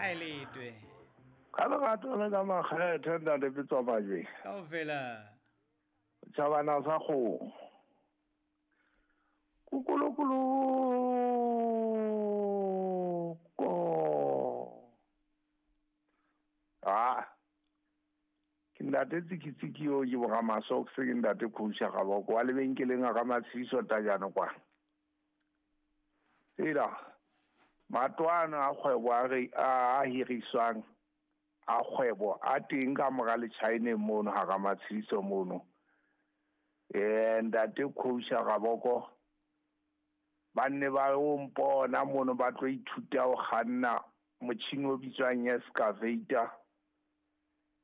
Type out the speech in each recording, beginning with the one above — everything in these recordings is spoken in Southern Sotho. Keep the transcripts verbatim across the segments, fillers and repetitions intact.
Kae letwe? Ka lerato le ka makgethe ntate Pitso Majweng. Kaofela. Tjhabana sa kgomo. Kukulukulu ko. Ah. Ke ntate Tsikitsiki yo ke bora masokse ke ntate Khusha Gaboko wa lebenkeleng a ka Matshiso Tajane kwa. Ela matwana a kgwebo a re a hiriswang a kgwebo a teng ka mora le China mono ha ka Matshiso mono. Eh ntate Khusha Gaboko ba nne ba o mpona mono ba tlo ithuta ho kganna motjhini o bitswang excavator,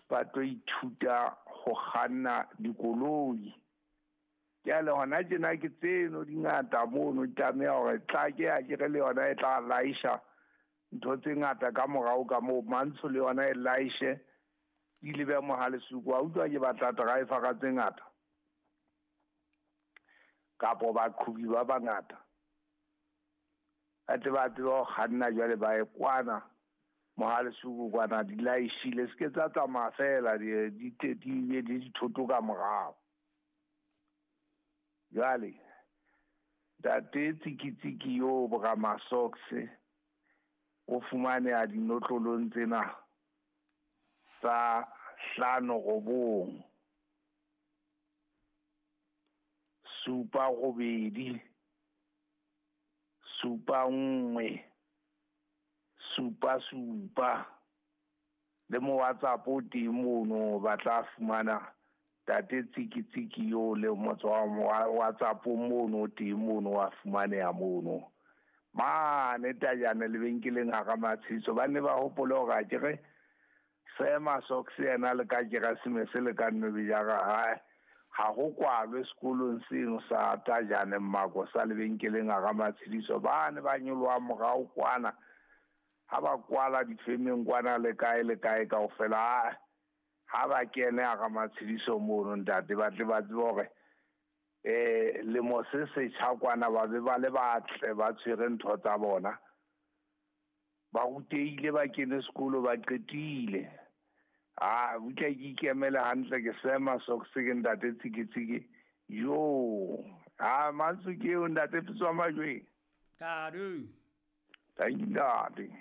ba tlo ithuta ho kganna dikoloi. Jwale hona tjena ke tseno di ngata mono, di tlameha hore tla ke a ke re le yona e tla laisha ntho tse ngata ka morao ka moo, Mantsho le yona e laishe di lebe Mohalesuku. Wa utlwa ke batla driver ka tse ngata kapo baqhobi ba bangata ba tle ba tsebe ho kganna. Jwale ba ye kwana Mohalesuku kwana di laishile, se ke tsa tsamaya fela di di di be le dithoto ka morao. Jwale ntate Tsikitsiki yo bora masokse o fumaneha dinotlolong tsena tsa hlano robong supa robedi supa nngwe supa supa le mo WhatsApp o teng mono, ba tla fumana ntate Tsikitsiki yo le motho wa WhatsApp mono teng mono wa fumaneha mono mane Tajane lebenkeleng ha ka Matshiso. Ba ne ba hopole hore a kere Sema Socks yena le ka Keresemese le ka Nnobejara hae ha ho kwalwe sekolong seno sa Tajane Mmako sa lebenkeleng ha ka Matshiso. Ba ne ba nyoloha morao kwana ha ba kwala difemeng kwana le kae le kae kaofela, ha ba kene ha ka Matshiso mono ntate ba tle ba tsebe hore eh lemo se setjha kwana ba be ba le batle ba tshwere ntho tsa bona, ba rutehile, ba kene sekolo, ba qetile. Ah butle ke ikemele hantle ke Sema Socks ke ntate Tsikitsiki yo. Ah Mantsho ke eo ntate Pitso Majweng. Tadu. Thank you ntate.